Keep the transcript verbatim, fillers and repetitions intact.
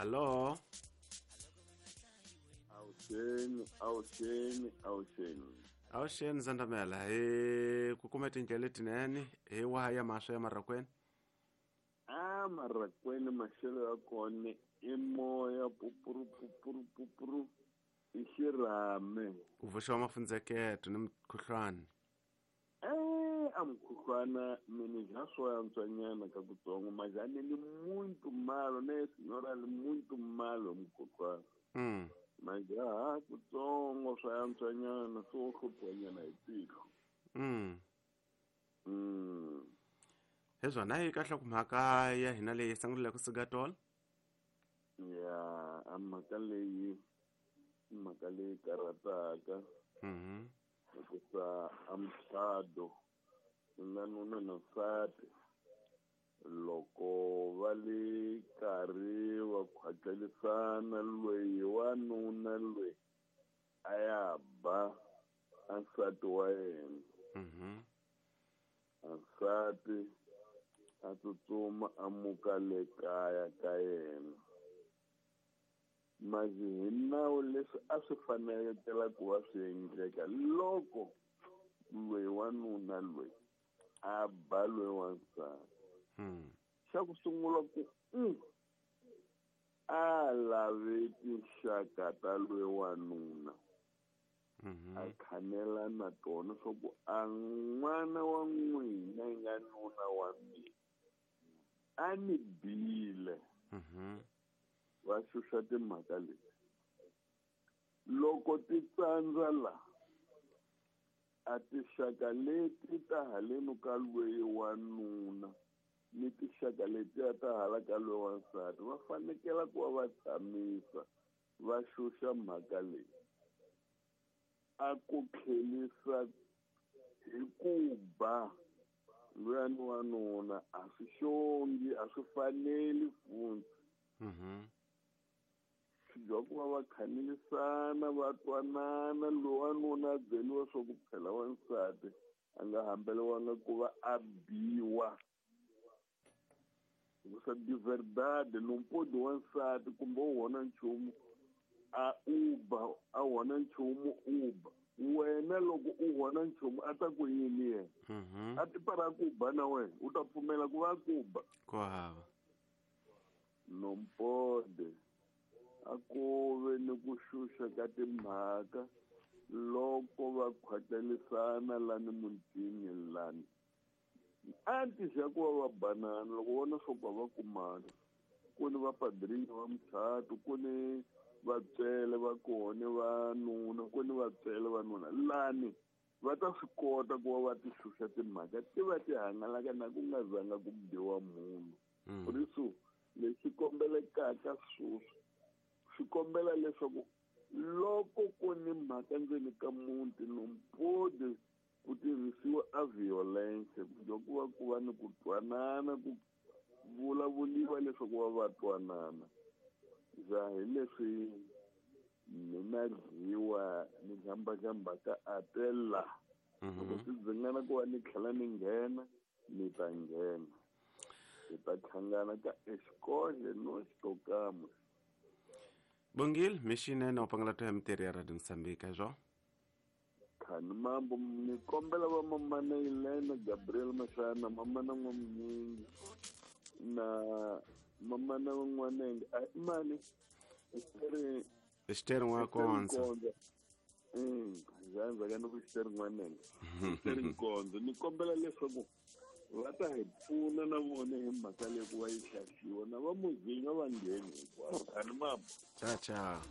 Allo? Awuxeni, awuxeni, awuxeni. Awuxeni Zandamela, hi ku kuma tindlela letinene hi waha ya maswa ya Marracuene? A Marracuene maxelo ya kona i moya pupuru pupuru pupuru i xirhami. Ku vuxiwa mafundzeketo ni mukhuhlwana. Eh, a mukhuhlwana mina já swo antswanyana ka kutsongo majani ni muito malo ne senhora li muito malo mukhuhlwana. Mm. Majaha kutsongo swa antswanyana swo hluphanyana hi tiko. Mm. Mm. Hezwana hi kahle ku mhaka ya hina leyi sunguleke ku suka tolo. Ya, a mhaka leyi mhaka leyi karhataka. Mhm. Hikuva a mucato nga nuna na nsati loko va le karhi va khwatlelisana loyi wanuna loyi a ya ba a nsati wa yena. Mhm. A nsati a tsutsuma a muka le kaya ka yena. Mas hi nawu leswi a swi fanelekela ku va swi endleka loko loyi wanuna loyi a ba loyi wansati. Mm. Xa ku sungula ku mm, a lave tinxaka ta loyi wanuna. Mhm. A khanela na tona swa ku a n'wana wa n'wina yi nga nuna wa mina a ni bile. Mhm. Va xuxa timhaka leti. Loko ti tsandza la a tinxaka leti ta haleni ka loyi wanuna ni tinxaka letiya ta hala ka loyi wansati va fanekela ku va va tshamisa va xuxa mhaka leyi. A ku tlhelisa hi ku ba luyani wanuna a swi xongi a swi faneli futhi. Mhm. Swi dya ku va va khanelisana va twanana loyi wanuna a byeriwa swa ku phela wansati a nga hambeliwanga ku va a biwa. Hikusa de verdade não pode wansati kumbe u hona nchumu a uba a hona nchumu uba wena loko u hona nchumu a ta ku yini yena? Mhm. A ti para ku ba na wena u ta pfumela ku va ku ba? Ku hava. Não pode. A ku ve ni ku xuxa ka timhaka loko va khwatlelisana lani mutini lani. Antes ya ku va va banana loko vona swo ku va kumana ku ni vapadrinho va muchato ku ni vatswele va kona vanuna ku ni vatswele vanuna lani va ta swi kota ku va va ti xuxa timhaka ti va ti hangalaka na ku nga zanga ku biwa munhu. Mm. Por isso lexi kombelekaka sweswi swi kombela leswaku loko ku ni mhaka ndzeni ka muti não pode ku tirhisiwa a violência ku dya ku va ku va ni ku twanana ku vulavuliwa leswaku va va twanana. Ja hi leswi mina dyiwa ni jambajamba ka atela. Mhm. Loko swi dzingana ku va ni tlhela ni nghena ni ta nghena. Hi ta hlangana ka exikole no xitokamo. Bongile mixinene u pangela to ya mitirho ya Radio Mozambique zwo. Khani mambo ni kombela va mamana Elena Gabriel Mashana mamana n'wamunyingi na mamana n'wanenge a mani Esther Esther N'wakonza. Mm, ndzhaku ka ni ku Esther N'wanenge. Esther Nkonzo ni kombela leswaku va ta hi pfuna na vona hi mhaka leyi ku va yi hlaxiwa na va muzinga va ngheni hinkwavo. Khani mambo. Ciao ciao.